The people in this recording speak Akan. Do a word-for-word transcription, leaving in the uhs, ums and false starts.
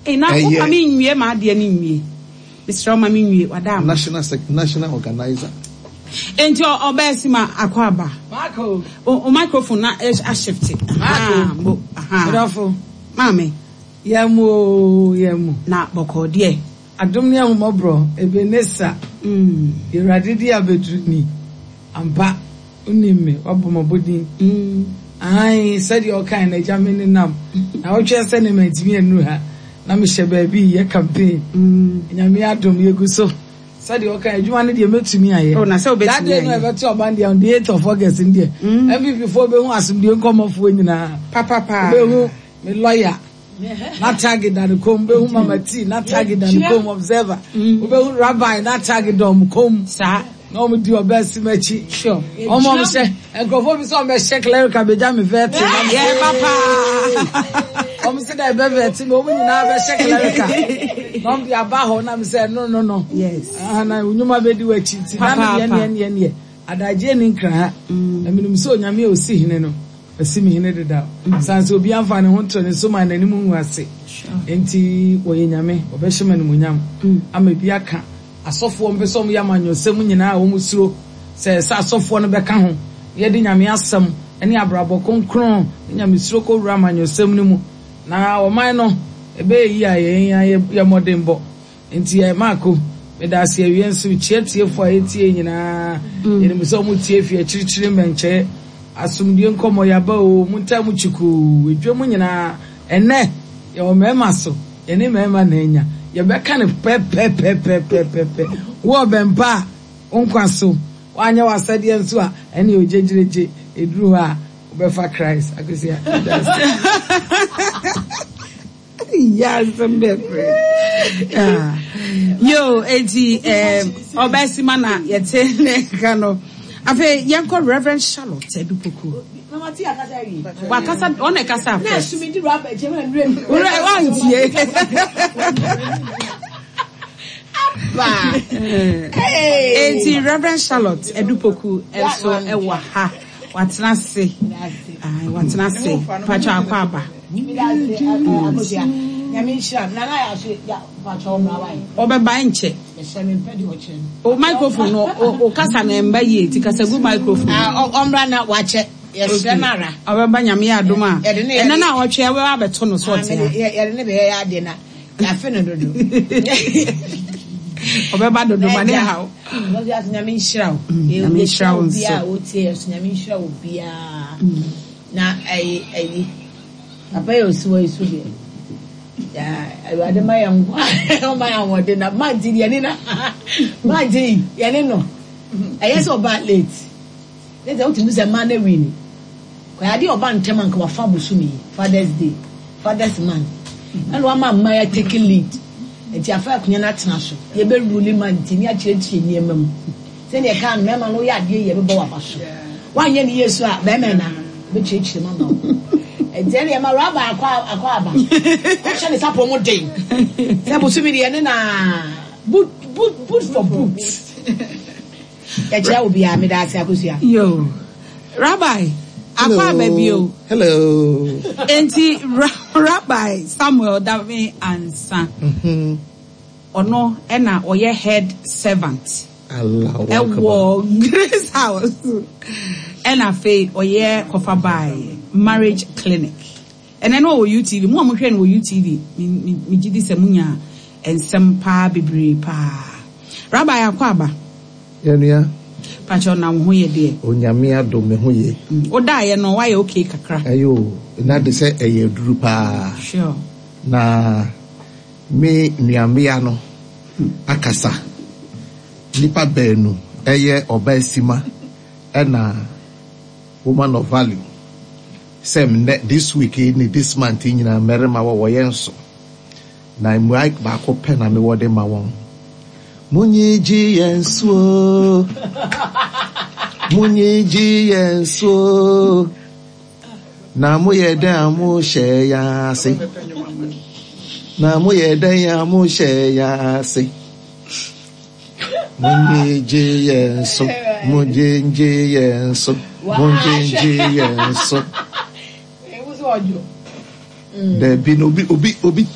Ei, na Ɛyɛ- woma me nwie ma adeɛ no nwie. Mesrɛ wo, ma me nwie wada ama. National sec national organizer. Enti ɔ- ɔbɛɛ si ma akɔ aba. Marco. O, o microphone na eh, ashifte. Aha, bo, aha. Adɔfo. Maame. Yɛn mu o, yɛn mu. Na bɔkɔɔ deɛ. Adom ne ahomɔborɔ, Ebenesa. Mm. Awurade di abɛduru ni. Ampa, wonim me, wabɔ m'abɔdin. Mm. Ae, sɛdeɛ ɔkae no, agya me ne nam. Na wotwɛn sɛ ne mantumi annuru ha. Na mehyɛ baabi yɛ campaign. Mm. Nyame adom, yɛgu so. Sɛdeɛ ɔkae, adwuma no deɛ mɛtumi ayɛ. Oh, na sɛ wobɛtumi That day no ayɛ. ɛbɛto ɔban deɛ on the eighth of August no deɛ. Mm. N P P foɔ bɛhu asomdwoe nkɔmmɔfoɔ nyinaa. Papapa. Wobɛhu me lawyer. Na tag da ne kɔn, wobɛhu Mama T, na tag da ne kɔn, Observer. Mm. Wobɛhu Rabbi, na tag da ɔmo kɔn. Saa. Na ɔmo di ɔbɛ si m'akyi. Sure. Ɔmo ɔmo hyɛ nkurɔfoɔ bi sɛ ɔmo bɛhyɛ clerical bɛgya me vet. Yeah, papa. Ɔmo sɛ dɛ ɛbɛ vet mi, ɔmo nyinaa bɛhyɛ clerical. Na ɔmo de aba hɔ na mi sɛ no no no. Yes. Ah, na nnwuma bɛdi w'akyi nti na Papaapa. ne deɛ neɛ neɛ adagye ne nkra ha. Mm. Na menim sɛ Onyame a osi hene no, ɔsi me hene deda. San sɛ obi amfa ne ho nto ne so ma n'anim ngu ase. Sure. Nti wɔyɛ Nyame, wɔbɛhyɛ me animuonyam. Mm. Ama bi aka asɔfoɔ mpɛ sɛ ɔmo yɛ amanyɔsɛm nyinaa a wɔn suro sɛ sɛ asɔfoɔ no bɛka ho, yɛde Nyame asɛm ne abrabɔ kronkron ne Nyame suro kɔwura amanyɔsɛm no mu. Na ɔman no ɛbɛyɛ yi a yɛn yɛ mmɔdenbɔ. Nti yɛ Maako, meda ase awie nso kyia tiefoɔ a yɛtie nyinaa. Mm. Yɛnim sɛ ɔmo tie fi akyirikyiri mmɛnkyɛɛ. Asomdue nkɔmmɔ yaba o, montaa mu kyikuu, edwa mu nyinaa. Ɛnnɛ, yɛwɔ mmarima so, yɛne mmarima na anya. Yɛbɛka no pɛpɛpɛpɛpɛpɛ. Wo ɔbɛmpa a, wo nkwa so. Woanyɛ w'asɛdeɛ nso a, ɛne ogyegyeregyɛ. Ɛduru hɔ a, wobɛfa Christ. Akosua, meda ase. Yeah, some different. Yeah. Yo, eti um ɔbɛsima na yɛte ne ka no. Afei yɛnkɔ Reverend Charlotte Edupoku. Mama T akasa awie. Wakasa, ɔna kasa Na first. esumi di raba gye ma nure mi. Wura wantie. Ba. Hey. Eti Reverend Charlotte Edupoku nso ɛwɔ ha. Watena ase. Ai, watena ase. Pacho akɔ aba. Nyame nhyira. Na na ya so ya pacho mra wai. Ɔbɛba nkyɛ. Mehyɛ me mpɛ de ɔkyerɛ no. O microphone no o, o kasa na mba yie ti kasa gu microphone. Ah, ɔmra na wakyɛ. Yɛsrɛ no ara. Ɔbɛba Nyame yɛ adom a. Yɛde ne Ɛnɛ na ɔtwe ɛbɛba abɛto no so Ah, ɔte mede- ha. yɛ- yɛde ne bɛyɛ yɛ ade na yɛafe no dodo. Ɔbɛba dodo ma ne haw. Ɔde ase Nyame nhyira wo. Mm, Nyame nhyira wo nso. Obiara a wotie yɛ so, Nyame nhyira wo biara. Na ɛyi ɛyi papa yɛ osi wɔ esu deɛ. Ya Awurade ma yɛn nkwa, ɔma yɛn ahoɔden na mante deɛ ne na mante yi yɛne no. Ɛyɛ sɛ ɔba late. Ne sɛ wotumi sɛ mmaa na wi ni. Kɔyɛ adeɛ ɔba ntɛm anka wafa bosom yi, Father's Day, Father's Month. Ɛna wama mmaa yɛ take lead. Nti afa akonnwa no atena so. Yɛbɛrule mante ne akyerɛkyerɛ nneɛma mu. Sɛdeɛ ɛka no, mmarima no woyɛ adeɛ yɛ bɛbɔ waba so. Woanyɛ ne yie so a, bɛrima na bɛkyerɛkyerɛ mu ama wo. Nti ɛne ɛma raba akɔ akɔ aba. Ɔhyɛ ne sapɔ mu den. Sɛ bosom yi deɛ ne na boot boot boot for boot. Yɛkyerɛ wo biara, meda ase, Akosua. Yo. Rabbi, akɔ aba bio. Hello. Enti Ra- Rabbi Samuel Dame Ansa. Mhm. Ɔno ɛna ɔyɛ head servant. Allahu Akbar. Ɛwɔ Grace House. Ɛna afei ɔyɛ kɔfa marriage clinic. Ɛnɛ no wɔ U T V. Mo a mohwɛ no wɔ U T V, me me me gye di sɛ munya nsɛm paa bebree paa. Rabbi, akɔ aba. Yɛnua. Pakyɛ, na wo ho yɛ deɛ? Onyame adom, me ho ye. Mm. Wodaeɛ no woayɛ okay kakra? Ɛyɛ o, na de sɛ ɛyɛ aduru paa. Sure. Na me nuambea no akasa. Nipa baanu ɛyɛ ɔbaa sima ɛna woman of value. Sɛ nnɛ this week yi ne this month yi nyinaa mmarima wɔ wɔyɛ nso. Na mmuae baako pɛ na mewɔ de ma wɔn. Munyi gye yɛn so. Munyi gye yɛn so. Na moyɛ dɛn a mohyɛ yɛn ase. Na moyɛ dɛn a mohyɛ yɛn ase. Munyi gye yɛn so. Munyi gye yɛn so. Munyi gye yɛn so. Ewu sɛ ɔdwo. Dabi na obi obi obi